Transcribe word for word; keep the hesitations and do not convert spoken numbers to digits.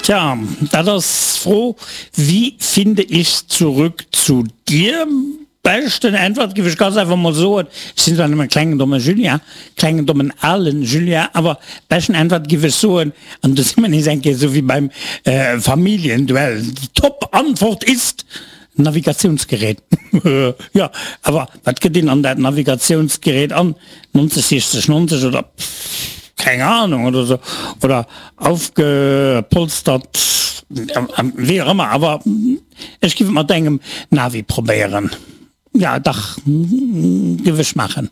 Tja, dat ass d'Fro, Wie finde ich zurück zu dir? Beschten Äntwert giff ech ganz einfach mol soen, ech sinn zwar nëmmen klengen dommen Julien, klengen dommen alen Julien, awer beschten Äntwert giff ech soen, an do si mer nees eng Kéier esou wéi beim Familienduell, die Top-Antwort ist, Navigatiounsgerät. Jo, awer wat gëtt een an dat Navigatiounsgerät an? neunzig sechzig neunzig oder keng Ahnung oder sou, oder aufgepolstert, wéi och ëmmer, awer ech giff et mat engem Navi probéieren. Ja, dach, giff ech maachen.